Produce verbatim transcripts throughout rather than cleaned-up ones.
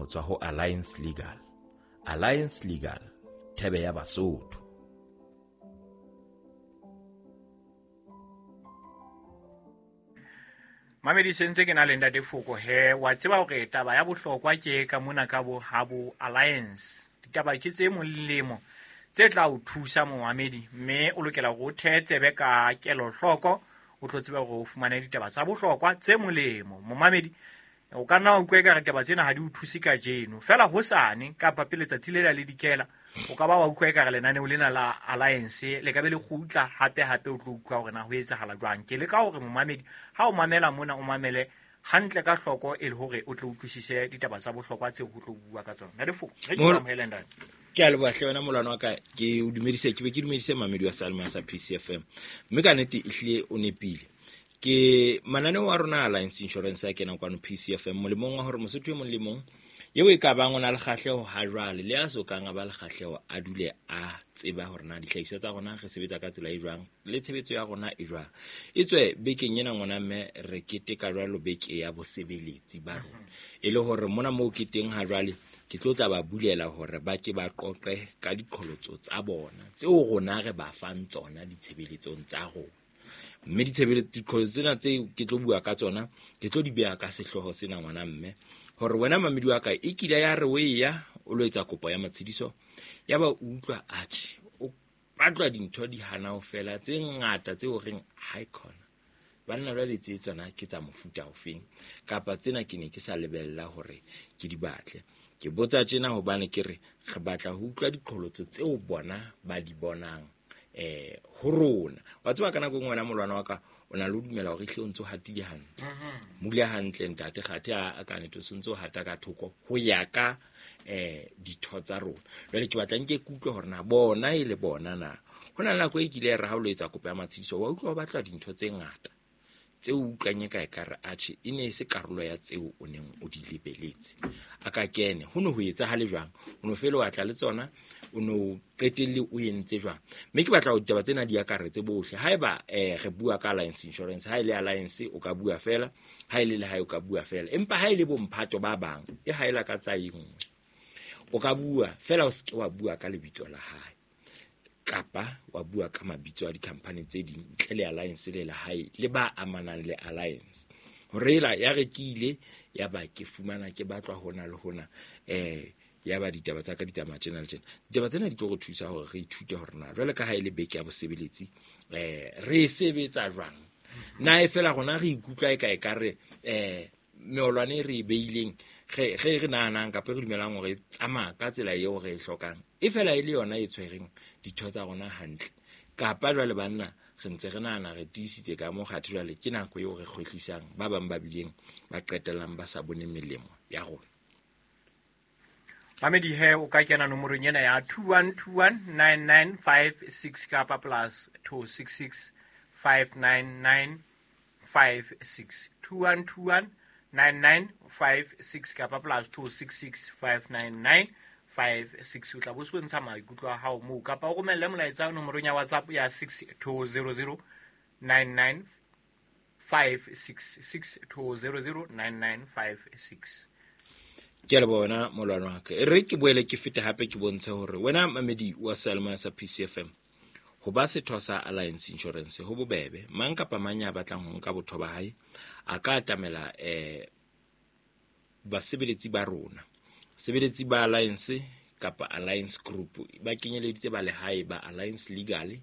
ho tswa ho Alliance Legal. Alliance Legal, thebe ya Basotho. Mamedi sentse ke na le ntate Foko he wa tseba hore taba ya bohlokwa ke ka mona ka bo ha bo Alliance. Ditaba ke tse molemo tse tla o thusa momamedi, mme o lokela hore o thetsebe ka kelohloko, o tlo tseba hore o fumane ditaba tsa bohlokwa tse molemo. Momamedi o ka nna wa utlwa ekare taba tsena ha di o thuse kajeno, fela hosane kapa pele letsatsi le la le dikela o ka ba wa utlwa ekare lenaneo lena la Alliance le ka be le kgutla hape hape, o tlo utlwa hore na ho etsahala jwang. Ke leka hore momamedi ha o mamela mona o mamele hantle ka hloko e le hore o tlo utlwisise ditaba tsa bohlokwa tseo ho tlo bua ka tsona. Ntate Foko, re ke amohele ntate. Ke a leboha hle wena molwana wa ka, ke o dumedise, ke be ke dumedise mamedi wa Salma sa P C F M. Mme ka nnete ehlile o nepile. Ke mananeo a rona Alliance Insurance a kenang kwano P C F M molemong wa hore Mosotho e mong le mong eo e ka bang o na le kgahleho ha jwale le a so kang a ba le kgahleho a dule a tseba hore na dihlahiswa tsa rona re sebetsa ka tsela e jwang le tshebetso ya rona e jwang. Etswe bekeng ena ngwana mme re keteka jwalo beke ya bosebeletsi ba rona, e le hore mona moo ke teng ha jwale ke tlo tla ba bulela hore ba ke ba qoqe ka diqholotso tsa bona tseo rona re ba fang tsona ditshebeletsong tsa rona. Mme ditshebeletso diqholotso tsena tse ke tlo bua ka tsona ke tlo di beha ka sehlooho sena ngwana mme, hore wena mamedi wa ka e kile ya re o eya o lo etsa kopo ya matshediso, ya ba o utlwa atjhe o batlwa dintho di hana ho fela tse ngata tse o reng ha e khona banna jwale tse tsona ke tsa mofuta ofeng, kapa tsena ke ne ke sa lebella hore ke di batle. Ke botsa tjena hobane ke re re batla ho utlwa diqholotso tseo bona ba di bonang eh ho rona. Wa tseba ka nako e nngwe wena molwana wa ka o na le ho dumela hore ehlile o ntso hatile hantle, mule hantle ntate kgathe a ka nnete o ntso hata ka thoko ho ya ka eh ditho tsa rona. Jwale ke batla nke ke utlwe hore na bona e le bona na ho na le nako e kile ya re ha o lo etsa kopo ya matshediso wa utlwa o batla dintho tse ngata tseo o utlwang e ka ekare atjhe e ne e se karolo ya tseo o neng o di lebeletse. A ka kene ho ne ho etsahale jwang, o no fele wa tla le tsona, o no qetelle o entse jwang. Mme ke batla hore ditaba tsena di akaretse bohle. Haeba eh re bua ka Alliance Insurance, ha e le Alliance o ka bua fela, ha e le lehae o ka bua fela, empa ha e le bomphato ba bang e haela ka tsa e nngwe o ka bua fela, o se ke wa bua ka lebitso la hae kapa wa bua ka mabitso a di-company tse ding ntle le Alliance le lehae le ba amanang le Alliance. Hore ela ya re ke ile ya ba ke fumana ke batlwa hona le hona eh ya ba ditaba tsa ka di tsamaya tjena le tjena. Ditaba tsena di tlo re thusa hore re ithute hore na jwale ka ha e le beke ya bosebeletsi eh re sebetsa jwang. Na e fela rona re ikutlwa e ka e ka re eh meolwane e re e beileng re re re nahanang kapa re dumelang hore e tsamaya ka tsela eo re e hlokang e fela e le yona e tshwereng ditho tsa rona hantle, kapa jwale banna re ntse re nahana re tiisitse ka mo kgathe jwale ke nako eo re kgwehlisang ba bang ba bileng ba qetellang ba sa bone melemo ya rona. Mamedi he o ka kena nomorong ena ya two one two one nine nine five six kapa plus two six six five nine nine five six, two one two one nine nine five six kapa plus two six six five nine nine five six. O tla bo se ntsha maikutlo a hao moo, kapa o romelle molaetsa nomorong ya WhatsApp ya six two zero zero nine nine five six, six two zero zero nine nine five six. Ke a leboha wena molwana wa ka. E re ke boele ke fete hape ke bontshe hore wena mamedi wa Salma sa P C F M ho ba setho sa Alliance Insurance ho bobebe. Mang kapa mang ya batlang ho nka botho ba hae a ka atamela eh basebeletsi ba rona. Sebeletsi ba Alliance kapa Alliance Group ba kenyeleditse ba lehae ba Alliance Legal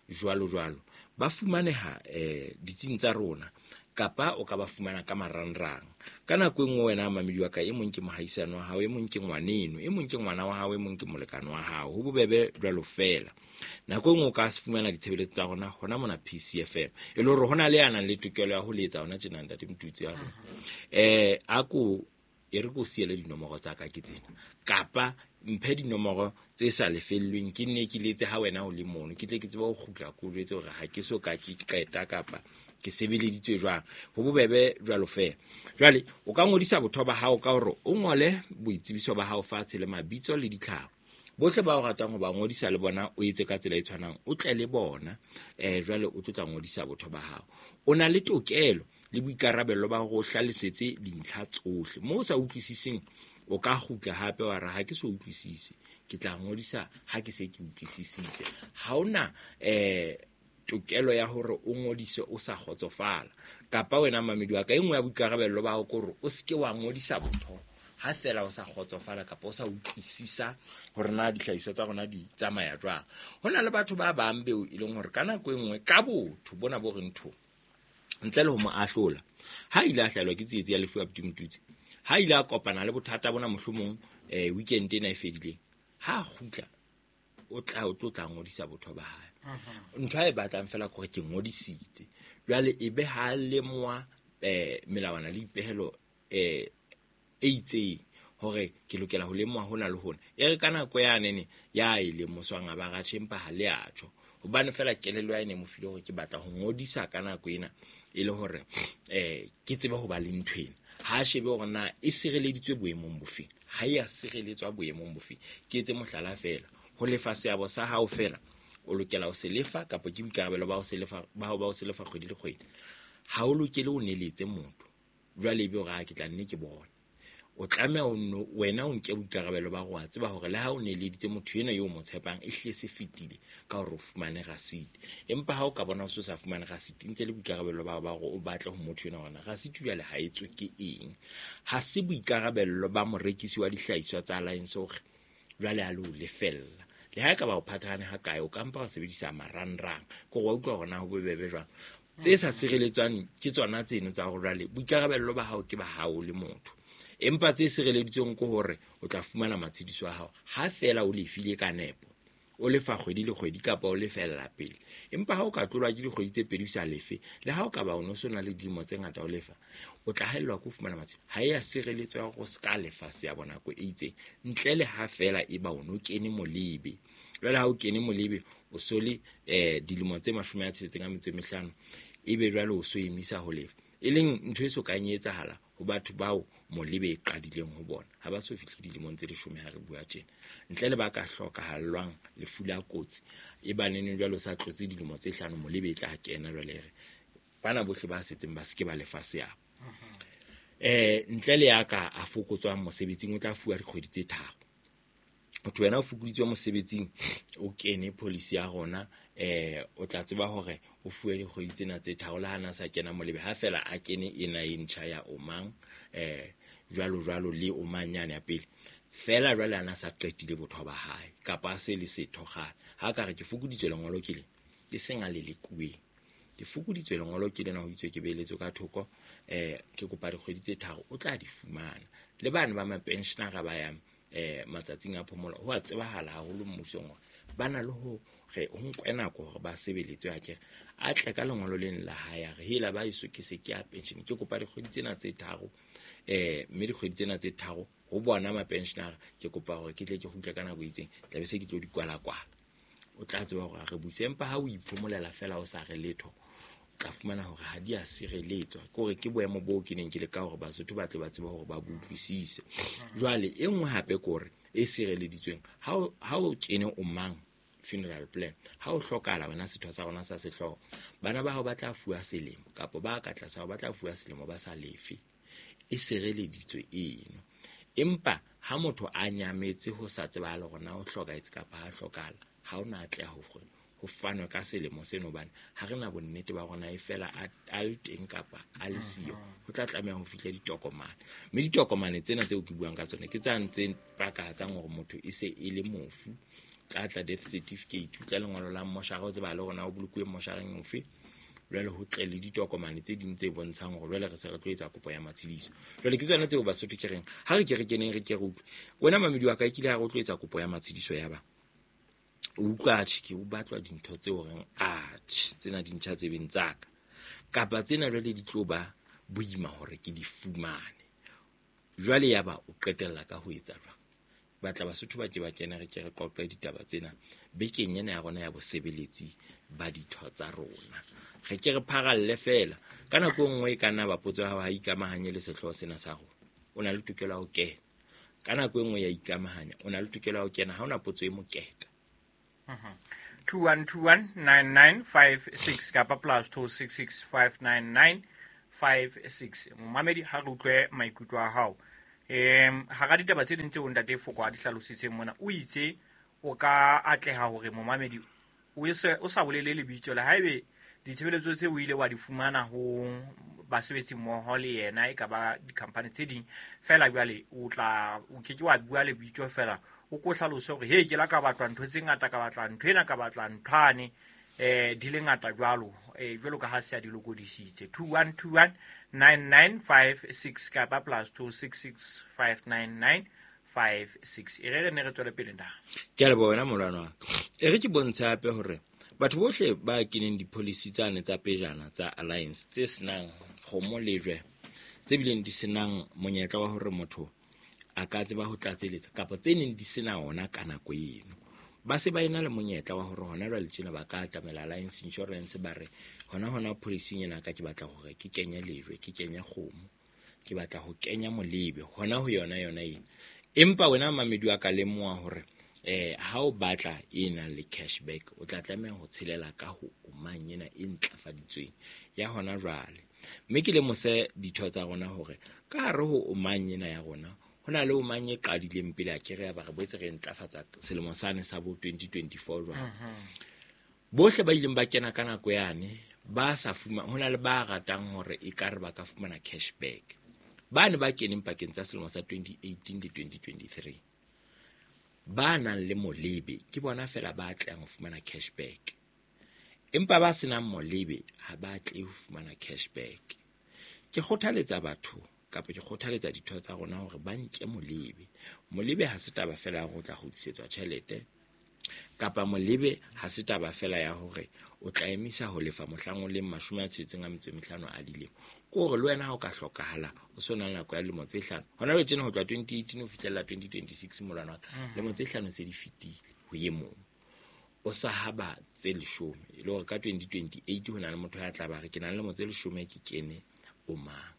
jwalo jwalo ba fumaneha eh ditsing tsa rona, kapa o ka ba fumana ka marangrang. Ka nako e nngwe wena mamedi wa ka e mong ke mohaisane wa hao, e mong ke ngwaneno, e mong ke ngwana wa hao, e mong ke molekane wa hao. Ho bobebe jwalo fela. Nako e nngwe o ka fumana ditshebeletso tsa rona hona mona P C F M, e le hore hona le ya nang le tokelo ya ho letsa hona tjena ntate Motutsi ya rona. Eh a ko e re ko siele dinomoro tsa ka ke tsena, kapa mphe dinomoro tse sa lefellweng ke nne ke letse ha wena o le mono, ke tle ke tsebe ho kgutla ko jwetse hore ha ke so ka ke qeta kapa ke sebeleditswe jwang. Ho bobebe jwalo fela. Jwale o ka ngodisa botho ba hao ka hore o ngole boitsebiso ba hao fatshe le mabitso le ditlhaho. Bohle ba o ratang ho ba ngodisa le bona o etse ka tsela e tshwanang, o tle le bona eh jwale o tlo tla ngodisa botho ba hao. O na le tokelo le boikarabelo ba hore o hlalosetse dintlha tsohle. Moo o sa utlwisiseng O ka kgutla hape wa re ha ke so utlwisise, ke tla ngodisa ha ke se ke utlwisisitse. Ha ona eh tokelo ya hore o ngodise o sa kgotsofala. Kapa wena mamedi wa ka, e nngwe ya boikarabello ba hao ke hore o seke wa ngodisa botho ha fela o sa kgotsofala kapa o sa utlwisisa hore na dihlahiswa tsa rona di tsamaya jwang. Ho na le batho ba bang beo e leng hore ka nako e nngwe ka botho bona bo re ntho ntle le ho mo ahlola, ha ile a hlahelwa ke tsietsi ya lefu ya Motutsi, ha ile a kopana le bothata bona mohlomong eh weekend ena e fedileng, ha kgutla o tla o tlo tla ngodisa botho ba hae. Ntho a e batlang fela ke hore ke ngodisitse. Jwale e be ha lemoha eh melawana le dipehelo eh e itseng hore ke lokela ho lemoha hona le hona. E re ka nako ya nene ya e lemoswang a ba ratjhe, empa ha le a tjho. Hobane fela kelello ya ene mo file hore ke batla ho ngodisa ka nako ena e le hore eh ke tsebe ho ba le ntho ena. Ha shebe hore na e sireleditswe boemong bofe, ha e a sireletswa boemong bofe. Ke etse mohlala fela, ho lefa seabo sa hao fela o lokela ho se lefa, kapa ke boikarabelo ba ho se lefa ba hao ba ho se lefa kgwedi le kgwedi. Ha o lokele o neletse motho jwale ebe hore ha ke tla nne ke bone. O tlameha o nno wena o nke boikarabelo ba hore wa tseba hore le ha o neleditse motho ena eo o mo tshepang, e hlile se fetile ka hore o fumane rasiti. Empa ha o ka bona o se sa fumane rasiti, ntse le boikarabelo ba hao ba hore o batle ho motho ena hore rasiti jwale ha e tswe ke eng. Ha se boikarabello ba morekisi wa dihlahiswa tsa Alliance hore jwale a le o lefella. Le ha e ka ba o phathahane ha kae, o ka mpa wa sebedisa marangrang. Ke hore wa utlwa hore na ho bobebe jwang. Tse sa sireletswang ke tsona tseno tsa hore jwale boikarabello ba hao ke ba hao le motho. Empa tse sireleditsweng ke hore o tla fumana matshediso a hao ha fela o lefile ka nepo, o lefa kgwedi le kgwedi kapa o lefella pele. Empa ha o ka tlolwa ke dikgwedi tse pedi o sa lefe, le ha o ka ba o no so na le dilemo tse ngata o lefa, o tla haellwa ke ho fumana matshediso. Ha e a sireletswa hore o ska lefa seabo nako e itseng, ntle le ha fela e ba o no kene molebe. Jwale ha o kene molebe, o so le eh dilemo tse mashome a tsheletseng a metso e mehlano, ebe jwale o so emisa ho lefa. E leng ntho e so kang e etsahala ho batho bao molebe e qadileng ho bona. Ha ba so fihle dilemong tse leshome ha re bua tjena. Ntle le ba ka hlokahallwang lefu la kotsi, e ba neneng jwale o sa tlotse dilemo tse hlano, molebe e tla kena jwale re bana bohle ba setseng ba seke ba lefa seabo. Eh ntle le ya ka a fokotswang mosebetsing, o tla fuwa dikgwedi tse tharo. Motho wena o fokoditswe mosebetsing, o kene policy ya rona, eh o tla tseba hore o fuwe dikgwedi tsena tse tharo le ha na sa kena molebe, ha fela a kene ena e ntjha ya omang eh jwalo jwalo le omang yane ya pele. Fela jwale ana sa qetile botho ba hae kapa a se le setho kgale. Ha ka re ke fokoditswe lengolo ke le, ke seng a le lekuweng. Ke fokoditswe lengolo ke lena ho itswe ke beeletswe ka thoko, eh ke kopa dikgwedi tse tharo, o tla di fumana. Le bana ba mapensionara ba yang eh matsatsing a phomolo, ho a tsebahala haholo mmusong hore ba na le ho re ho nkwe nako hore ba sebeletswe. Ha ke re a tle ka lengolo leng la hae, a re hela ba eso ke se ke ya pension, ke kopa dikgwedi tsena tse tharo, eh mme dikgwedi tsena tse tharo ho bona mapensionara, ke kopa hore ke tle ke kgutle ka nako e itseng, tla be se ke tlo di kwala-kwala. O tla tseba hore a re buise. Empa ha o iphomolela fela o sa re letho, o tla fumana hore ha di a sireletswa. Ke hore ke boemo boo ke neng ke le ka hore Basotho ba tle ba tsebe hore ba bo utlwisise. Jwale e nngwe hape ke hore e sireleditsweng, ha o, ha o kene o mang funeral plan, ha o hlokahala wena setho sa rona sa sehlooho, bana ba hao ba tla fuwa selemo kapa ba ka tlasa hao ba tla fuwa selemo ba sa lefe. E sireleditswe eno. Empa ha motho a nyametse ho sa tsebahale hore na o hlokahetse kapa ha hlokahala, ha o na atleha ho ho fanwe ka selemo seno, hobane ha re na bonnete ba rona e fela a, a le teng kapa a le siyo. Ho tla tlameha ho fihla ditokomane, mme ditokomane tsena tseo ke buang ka tsona ke tsa ntseng pakahatsang hore motho e se e le mofu. Tla tla death certificate, o tla lengolo la mmoshara, o tseba le hore na o bolokuwe mmoshareng ofe. Jwale ho tle le ditokomane tse ding tse bontshang hore jwale re se re tlo etsa kopo ya matshediso. Jwale ke tsona tseo Basotho ke reng ha re ke re keneng re ke re utlwe. Wena mamedi wa ka, e kile ha re o tlo etsa kopo ya matshediso ya ba o utlwa atjhe ke o batlwa dintho tseo reng atjhe tsena di ntjha tsebeng tsa ka, kapa tsena jwale di tlo ba boima hore ke di fumane. Jwale ya ba o qetella ka ho etsa jwang? Batla Basotho ba ke ba kene re ke re qoqe ditaba tsena bekeng ena ya rona ya bosebeletsi ba ditho tsa rona. Re ke re pharalle fela. Ka nako e nngwe e ka nna ba potso ya hao ha ikamahanye le sehlooho sena sa rona, o na le tokelo ya ho kena. Ka nako e nngwe ya ikamahanya, o na le tokelo ya ho kena, ha ona potso e moketa. two one two one nine nine five six kapa plus two six six five nine nine five six. Momamedi, ha re utlwe maikutlo a hao. Um hara ditaba tse ding tseo ntate Foko a di hlalositseng mona, o itse o ka atleha hore momamedi o se o sa bolele lebitso le haebe ditshebeletso tse o ile wa di fumana ho basebetsi mmoho le yena e ka ba di-company tse ding fela, jwale o tla o ke ke wa bua lebitso fela, o ko hlalose hore he ke la ka batla ntho tse ngata, ka batla ntho ena, ka batla nthwane eh di le ngata jwalo eh jwalo ka ha se a di lokodisitse. Two one two one nine nine five six kapa plus two six six five nine nine five six. E re re ne re tswele pele nda. Ke a leboha wena molwana wa ka. E re ke bontshe hape hore batho bohle ba keneng di-policy tsane tsa pejana tsa Alliance tse senang kgomo lejwe, tse bileng di senang monyetla wa hore motho a ka tseba ho tlatseletsa kapa tse neng di sena ona ka nako eno, ba se ba ena le monyetla wa hore hona jwale tjena ba ka atamela Alliance Insurance ba re hona hona policy ena ka ke batla hore ke kenye lejwe, ke kenye kgomo, ke batla ho kenya molebe hona ho yona yona ena. Empa wena mamedi wa ka lemoha hore eh ha o batla e nang le cashback o tla tlameha ho tshelela ka ho omang ena e ntlafaditsweng ya hona jwale. Mme ke lemose ditho tsa rona hore ka hare ho omang ena ya rona ho na le omang e qadileng pele a kere ya ba re boetse re ntlafatsa selemo sane sa bo twenty twenty-four jwale. Bohle ba ileng ba kena ka nako yane ba sa fumana, ho na le ba ratang hore ekare ba ka fumana cashback. Ba ne ba keneng pakeng tsa selemo sa twenty eighteen le twenty twenty-three ba nang le molebe ke bona fela ba tlang ho fumana cashback, empa ba senang molebe ha ba tle ho fumana cashback. Ke kgothaletsa batho kapa ke kgothaletsa ditho tsa rona hore ba nke molebe. Molebe ha se taba fela ya hore o tla kgutlisetswa tjhelete, kapa molebe ha se taba fela ya hore o tla emisa ho lefa mohlang o leng mashome a tsheletseng a metso e mehlano a dilemo. Ke hore le wena ha o ka hlokahala o so na le nako ya dilemo tse hlano. Hona jwale tjena ho tloha twenty eighteen ho fihlella twenty twenty-six molwana wa ka, lemo tse hlano se di fetile ho e mong. O sa haba tse leshome, e le hore ka twenty twenty-eight ho na le motho ya tla ba re ke na le lemo tse leshome ke kene o mang.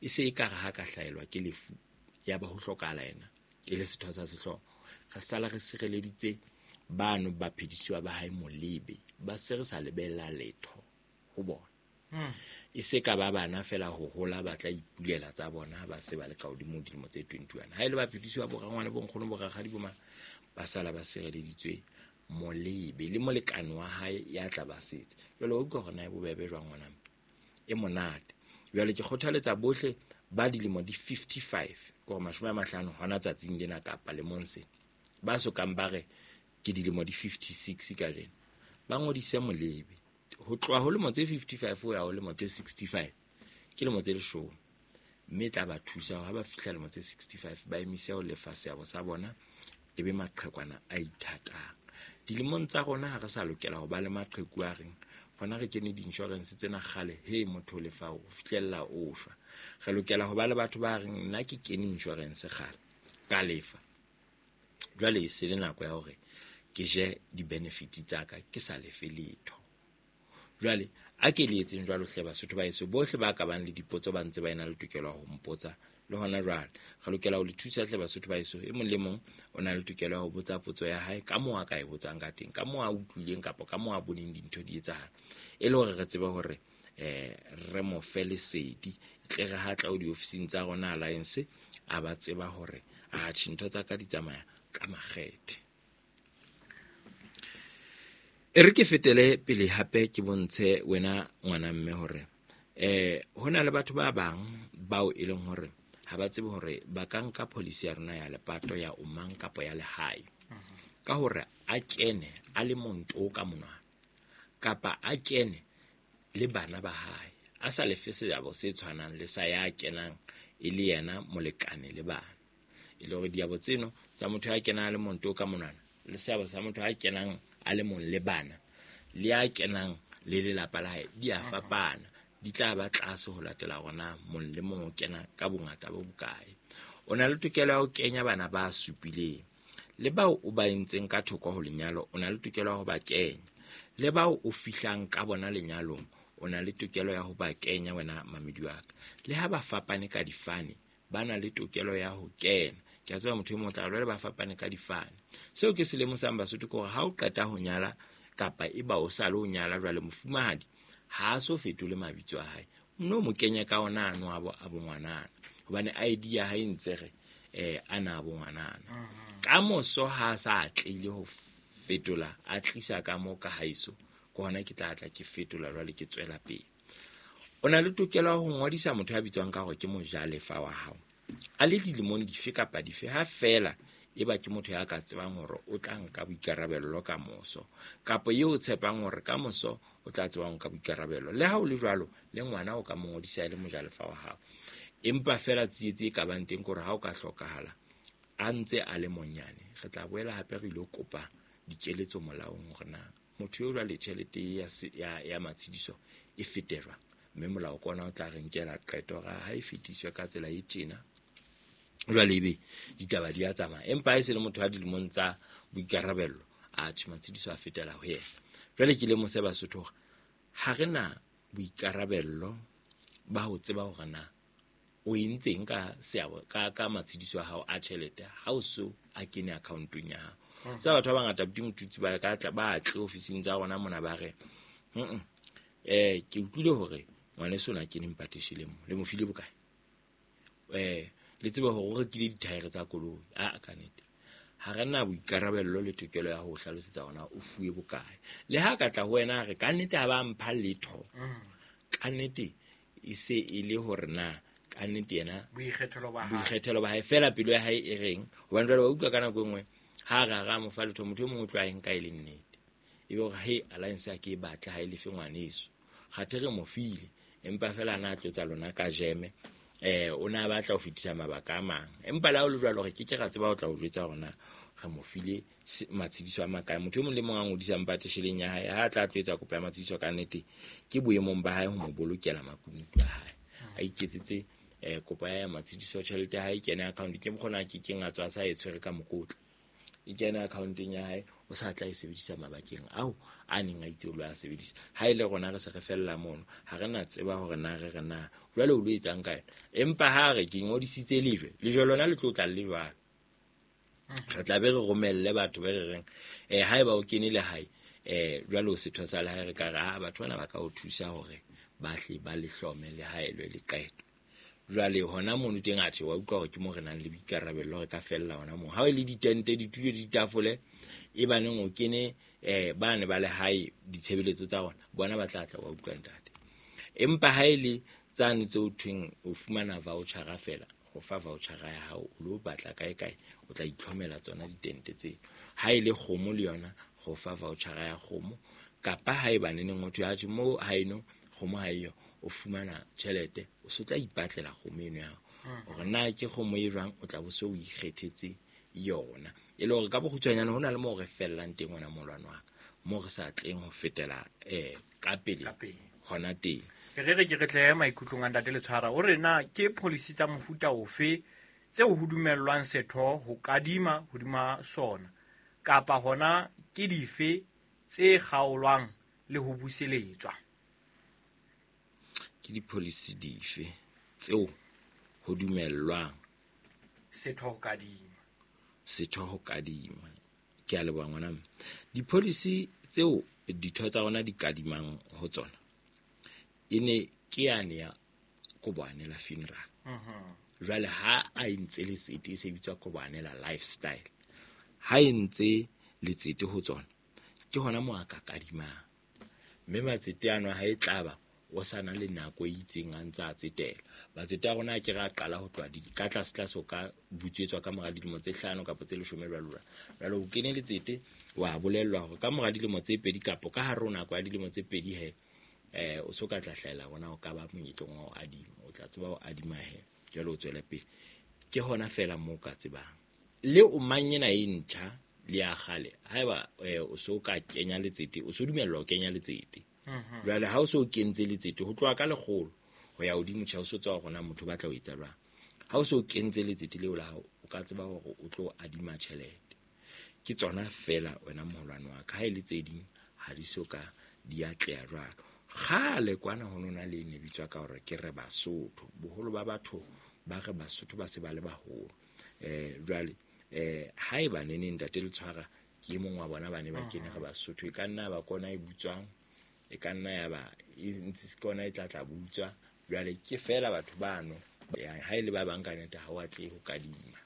E se e ka re ha ka hlaelwa ke lefu ya ba ho hlokahala yena e le setho sa sehlooho, re sala re sireleditse bano ba phedisiwa ba hae molebe, ba se re sa lebella letho ho bona. E se ka ba bana fela ho hola ba tla ipulela tsa bona ba se ba le ka hodimo dilemo tse twenty-one. Ha e le ba phedisiwa bo rangwane bo nkgono bo rakgadi bo mang, ba sala ba sireleditswe molebe le molekane wa hae ya tla ba setse. Jwale o utlwa hore na e bobebe jwang ngwana e monate. Jwale ke kgothaletsa bohle ba dilemo di fifty-five ke hore mashome a mahlano hona tsatsing lena kapa lemong sena, ba sokang ba re ke dilemo di fifty-six ka lena, ba ngodise molebe. Ho tloha ho lemo tse fifty-five ho ya ho lemo tse sixty-five ke lemo tse leshome, mme tla ba thusa ha ba fihla lemo tse sixty-five ba emise ho lefa seabo sa bona e be maqhekwana a ithatang. Dilemong tsa rona ha re sa lokela ho ba le maqheku a reng hona re kene di-insurance tsena kgale, he motho o lefa ho fihlella o shwa. Re lokela ho ba le batho ba reng nna ke kene insurance kgale ka lefa, jwale e se le nako ya hore ke je di-benefit tsa ka ke sa lefe letho. Jwale a ke le etseng jwalo hle Basotho ba heso, bohle ba ka bang le dipotso ba ntse ba ena le tokelo ya ho mpotsa le hona jwale. Re lokela ho le thusa hle Basotho ba heso, e mong le mong o na le tokelo ya ho botsa potso ya hae ka moo a ka e botsang ka teng, ka moo a utlwileng kapa ka moo a boneng dintho di etsahala, e le hore re tsebe hore eh re mo fe lesedi, tle re ha tla ho diofising tsa rona Alliance a ba tseba hore atjhe ntho tsa ka di tsamaya ka makgethe. E re ke fetele pele hape ke bontshe wena ngwana mme hore eh ho na le batho ba bang bao e leng hore ha ba tsebe hore ba ka nka policy ya rona ya lepato ya omang kapa ya lehae ka hore a kene a le monto ka monwana kapa a kene le bana ba hae, a sa lefe seabo se tshwanang le sa ya kenang e le yena molekane le bana. E le hore diabo tseno tsa motho ya kenang a le monto ka monwana le seabo sa motho ya kenang a le mong le bana le ya kenang le lelapa la hae di a fapana, di tla ba tlase ho latela hore mong le mong o kena ka bongata bo bokae. O na le tokelo ya ho kenya bana ba supileng, le bao o ba entseng ka thoko ho lenyalo o na le tokelo ya ho ba kenya, le bao o fihlang ka bona lenyalong o na le tokelo ya ho ba kenya wena mamedi wa ka. Le ha ba fapane ka difane ba na le tokelo ya ho kena. Ke a tseba motho e mong o tla re ba fapane ka difane. Seo ke se lemosang Basotho ke hore ha o qeta ho nyala kapa e ba o sa le ho nyala jwale mofumahadi ha a so fetole mabitso a hae, no mo kenye ka ona ano a bo a bongwanana. Hobane I D ya hae ntse re eh ana bo ngwanana. Ka moso ha sa atlehile ho fetola a tlisa ka mo ka haeso ke hona ke tla tla ke fetola jwale ke tswela pele. O na le tokelo ya ho ngodisa motho ya bitswang ka hore ke mojalefa wa hao a le dilemong dife kapa dife, ha fela e ba ke motho ya ka tsebang hore o tla nka boikarabello ka moso, kapa eo o tshepang hore ka moso o tla tseba ho nka boikarabello. Le ha o le jwalo le ngwana o ka mo ngodisa e le mojalefa wa hao, empa fela tsietsi e ka bang teng ke hore ha o ka hlokahala a ntse a le monyane, re tla boela hape re ilo kopa dikeletso molaong hore na motho eo jwale tjhelete ya ya ya matshediso e fete jwang, mme molao ke ona o tla re nkela qeto hore ha e fetiswe ka tsela e tjena jwale ebe ditaba di a tsamaya. Empa ha e se le motho a dilemong tsa boikarabello, a tjhe matshediso a fetela ho yena. Jwale ke lemose Basotho hore ha re na boikarabello ba ho tseba hore na o entseng ka seabo ka ka matshediso a hao a tjhelete ha o so a kene accountong ya hao. Tsa batho ba bangata buti Motutsi ba ka tla ba tle ofising tsa rona mona ba re mm eh ke utlwile hore ngwaneso na kene mpateshile mo le mo file bokae, eh le tsebe hore o rekile dithaere tsa koloi. A ka nnete ha re na boikarabello le tokelo ya ho hlalosetsa hona o fuwe bokae. Le ha ka tla ho wena re ka nnete ha ba mpha letho, ka nnete e se e le hore na ka nnete yena boikgethelo ba hae boikgethelo ba hae fela pelo ya hae e reng, hobane jwale wa utlwa ka nako e nngwe ha re ra mo fa letho motho e mongwe o tlo a e nka e le nnete, ebe hore he alliance ya ke e batla ha e lefe ngwaneso, kgathe re mo file empa fela na tlotsa lona ka jeme eh o na batla ho fetisa mabaka a mang. Empa la o le jwalo re ke ke ra tseba ho tla o jwetsa hore na re mo file matshediso a makae. Motho e mong le mong a ngodisang patesheleng ya hae ha tla tlo etsa kopo ya matshediso ka nnete ke boemong ba hae ho mo bolokela makunutu a hae, a iketsetse eh kopo ya matshediso tjhelete ya hae kene account ke mokgona ke keng a tswa sa e tshwere ka mokotla e kene accounteng ya hae, o sa tla e sebedisa mabakeng ao a neng a itse o lo a sebedisa. Ha ile rona re se re fella mono ha re na tseba hore na re re na jwale o lo etsang ka yona. Empa ha re ke ngodisitse lejwe lejwe lona le tlo tla le jwalo, re tla be re romelle batho ba re reng eh haeba o kene le hae eh jwale o setho sa le hae, re ka re ha batho bana ba ka o thusa hore ba hle ba le hlome le hae le le qeto. Jwale hona mono teng atjhe wa utlwa hore ke mo re nang le boikarabello re ka fella hona moo. Ha e le ditente ditulo ditafole e baneng o kene eh ba ne ba le hae ditshebeletso tsa bona bona ba tla tla wa utlwa ntate. Empa ha e le tsane tseo thweng o fumana voucher fela, go fa voucher ya hao o lo batla kae kae o tla itlhomela tsona ditente tseo. Ha e le kgomo le yona go fa voucher ya kgomo, kapa ha e baneneng motho ya tjhe mo haeno kgomo ha eyo o fumana tjhelete o so tla ipatlela kgomo eno ya hao hore na ke kgomo e jwang o tla bo so o ikgethetse yona. E le hore ka bokgutshwanyane ho na le moo re fellang teng hona molwana wa ka moo re sa tleng ho fetela eh ka pele hona teng. Re re ke re tle maikutlong a ntate Letshwara o re na ke policy tsa mofuta ofe tseo ho dumellwang setho ho kadima hodima sona, kapa hona ke dife tse kgaolwang le ho buseletswa? Ke di-policy dife tseo ho dumellwang setho ho kadima? Setho ho kadima. Ke a leboha ngwana mme. Di-policy tseo ditho tsa rona di kadimang ho tsona e ne ke yane ya Koboanela funeral. Jwale ha a entse letsete e se bitswa Koboanela lifestyle, ha e ntse letsete ho tsona ke hona moo a ka kadimang, mme matsete ano ha e tlaba o sa na le nako e itseng a ntse a tsetela. Matsete a rona a ke re a qala ho tloha ka tlase tlase o ka butswetswa ka mora dilemo tse hlano kapa tse leshome jwalo jwalo. Jwale o kene letsete wa bolellwa hore ka mora dilemo tse pedi kapa ka hare ho nako ya dilemo tse pedi he eh o so ka tla hlahela rona o ka ba monyetleng wa ho adima, o tla tseba ho adima he jwale o tswele pele. Ke hona fela moo ka tsebang. Le o mang ena e ntjha le ya kgale haeba o so ka kenya letsete o so dumellwa ho kenya letsete. Jwale ha o so kentse letsete ho tloha ka lekgolo ho ya hodimo tjhe o so tswa hore na motho ba tla o etsa jwang. Ha o so kentse letsete leo la hao o ka tseba hore o tlo adima tjhelete. Ke tsona fela wena moholwane wa ka, ha e le tse ding ha di so ka di atleha jwalo. Kgale kwana ho nona le ne bitswa ka hore ke re Basotho, boholo ba batho ba re Basotho ba se ba le baholo. Eh jwale eh haeba neneng ntate Letshwara ke e mong wa bona ba ne ba kene re Basotho, e ka nna ba kona e butswang, e ka nna ya ba e ntse se kona e tla tla butswa. Jwale ke fela batho bano Ha e le ba bang ka nnete ha o atlehe ho kadima.